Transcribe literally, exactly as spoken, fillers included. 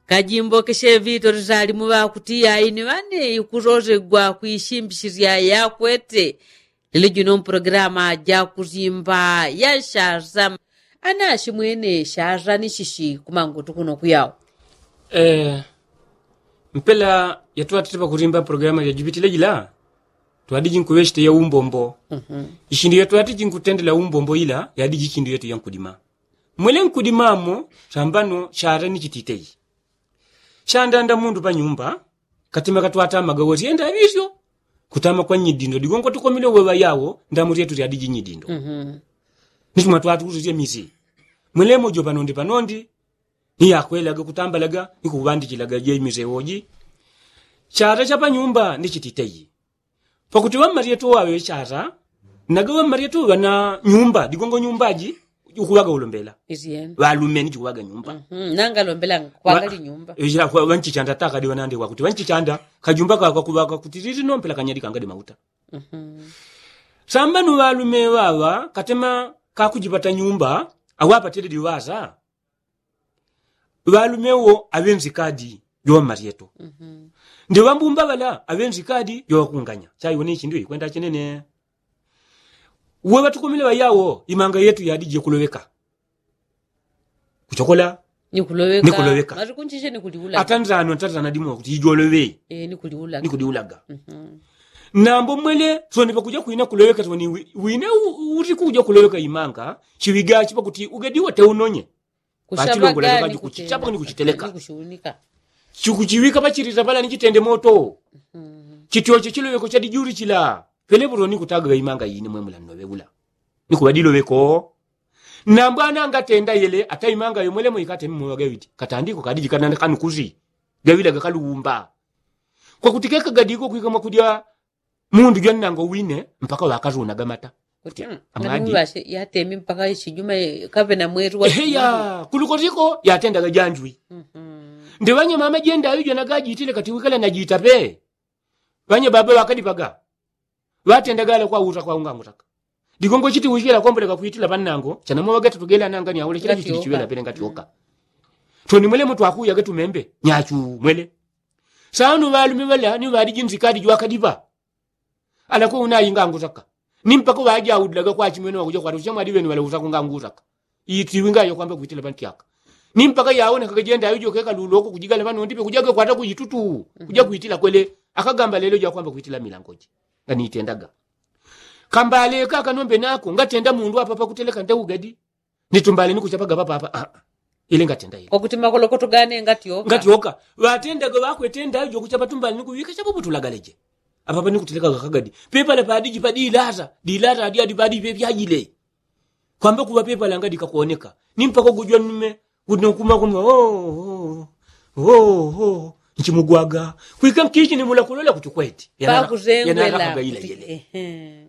Kajimbo keshe vito lizalimu ŵakuti yayi ni ŵane ikulolegwa kwishimbishilya yakwete. Lelo jino mpulogalamu ja kusimba ya shasa. Ana ashimwene shasa ni shishi kumangutu kuno kuyawo? Mpela yatwatite pakusimba mpulogalamu jajipitile jila, twadiji nkuŵeshite ya umbombo. Ishindu yatwatiji nkutendela umbombo ila yadiji ishindu yetu ya nkudima. Mwele nkudimamo sambano shasa ni chititeyi. Shandanda mundu panyumba, katima katwatamaga wosyenda aŵisyo. Kutama kwa nyidindo digongo tukomile uweŵa yawo ndamu lyetu lyadiji nyidindo. Nichuma twatukususye misi. Mwelemo jo panondi panondi ni yakwelaga kutambalaga ni kuŵandichilaga je misi woji. Shasa sha panyumba ni chititeyi. Pakuti ŵammalyetu waŵe shasa naga ŵammalyetu ŵana nyumba digongo nyumbaji ukuŵaga ulombela. Ŵalumeni jikuŵaga nyumba. Nanga lombela kwanga li nyumba. Ŵanchichanda takadi ŵanandi wakuti ŵanchichanda kajumba kakakuŵaga kuti lili nompela kanyadi kangadi mauta. Sambano ŵalume ŵaŵa katema kakujipata nyumba awapatile diŵasa. Ŵalume wo aŵenzikadi joŵammalyetu. Ndi ŵambumba ŵala aŵenzikadi joŵakunganya chaiwone ishindu ikwenda chinene. Uwe ŵatukomile ŵayawo imanga yetu yadiji kuloŵeka. Kuchokola ni kuloŵeka. Atanzano atanzana dimo kuti ijoloŵe ni kuliulaga. Nambo mwele soni pakuja kwina kuloŵeka soni wine uti kuja kuloŵeka imanga. Chiŵigachi pakuti ugadiwa teunonye. Pachilongolano kaji kuchichapa ni kuchiteleka. Chikuchiŵika pachilita pala ni chitende moto. Chityoche chiloŵeko chadijuli chila. Pele pulo ni kutaga imanga ine mwemula nnoŵe ula ni kuŵadiloŵeko. Nambwana ngatenda yele ata imanga yomwelemo ikateme mweŵa gawiti katandiko kadiji kanana kanukusi. Gawila gakaluŵumba. Kwakuti kekagadiko kwika mwakulya mundu jwannango wine mpaka ŵakarunaga mata. Kuti amwadi yateme mpaka ishijuma kaŵe na mweru wa eheya. Kulukotiko yatendaga janjwi. Ndi ŵanyamama jenda aŵi jwanagajitile kati wikala najita pe. Ŵanyababa ŵakadipaga ŵatendaga ala kwauta kwaungangutaka. Digongo chiti wichikela kwamboleka kwitila pannango chanamo ŵagatatu gela nangani aule chila chichili chiŵela pele ngatyoka. Toni mwelemo twakuyaga tumembe nyachu mwele. Sanu ŵalume ŵala ni ŵadiji nzikadi jwakadipa. Alakwe unayi ngangutaka ni mpaka ŵajaudlaga kwachimwene ŵakuja kwatucha mwadi ŵenu ŵaleuta kungangutaka. Itiwi ngayo kwamba kwitila pantyaka ni mpaka yaonekaga jenda aŵi jokeka luloko kujigala ŵanondipe kujaga kwata kujitutu. Kuja kwitila kwele akagamba lelo jakwamba kwitila milangoji. Nganitendaga kambale kaka nombe nako ngatenda mundu apapa kuteleka nda ugadi. Nitumbale nikuchapaga papapa aa. Ile ngatenda ile kwakuti makolokoto gane ngatyoka. Ngatyoka ŵatendaga ŵakwetenda aŵi jokuchapa tumbale nikuŵika chapaputulagaleje. Apapa nikutelekaga kagadi pepala padiji padilata dilata adi adi padi pepyajile. Kwamba kuŵa pepala ngadikakoneka ni mpaka gujwa nnume. Kuti nokumakunwa oo oo. Nchimugwaga kwika nkichi nimula kulola kuti kweti yanalakaga ila yele.